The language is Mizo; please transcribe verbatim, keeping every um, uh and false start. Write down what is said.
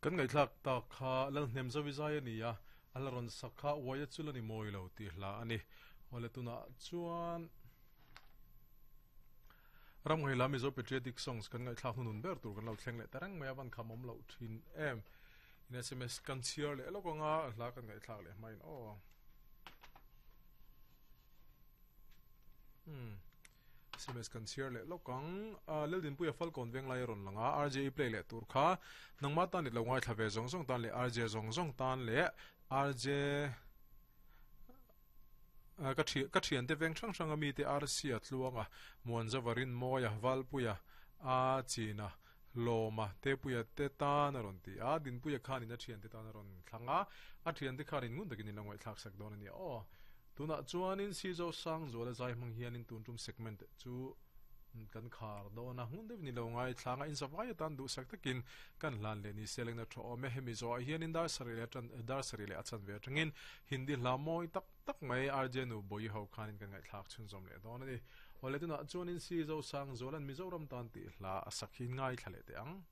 Kan ngaihthlak tak kha Lalhnemzawi zai a ni a, a la rawn sak kha uai a chul a ni mawi lo tih hla a ni. Awle tunah chuan Ramngaih la Mizo Patriotic Songs kan ngaihthlak hnunun ber tur kan lo thleng leh ta reng mai a, van kham awm loh thin em. In S M S kan chhiar leh lawk anga hla kan ngaihthlak leh hmain aw. Hmm. S M S kan chhiar leh lawk ang. Laldinpuia Falkawn Venglai a rawn lang a, R J E play leh tur kha nangmah tan i lo ngaithla ve zawng zawng tan leh R J zawng zawng tan leh R J ka thi ka thiante veng hrang hrang a mite R C a tluanga Muanzava Rinmawia Valpuia a China Lawma Tepuia te tan a rawn ti a, Dinpuia khanin a thiante tan a rawn thlang a, a thiante khanin ngun takin in lo ngaihthlak sak dawn a nia aw. Tunah chuanin Sizo Sangzuala zai hmang hianin tun tum segment chu kan khar dawn a, ngun deuhin i lo ngaithlang a, inzavai atan duhsak takin kan hlan leh ni se lengna tha awm e. Hemi zawhah hianin dar sarih leh atan dar sarih leh a chanve atangin Hindi hla mawi tak tak mai R J Nu Bawihi ho khanin kan ngaihthlak chhunzawm leh dawn a ni. Awle tunah chuanin Sizo Sangzuala'n Mizoram tan tih hla a sak hi ngaithla leh teh ang.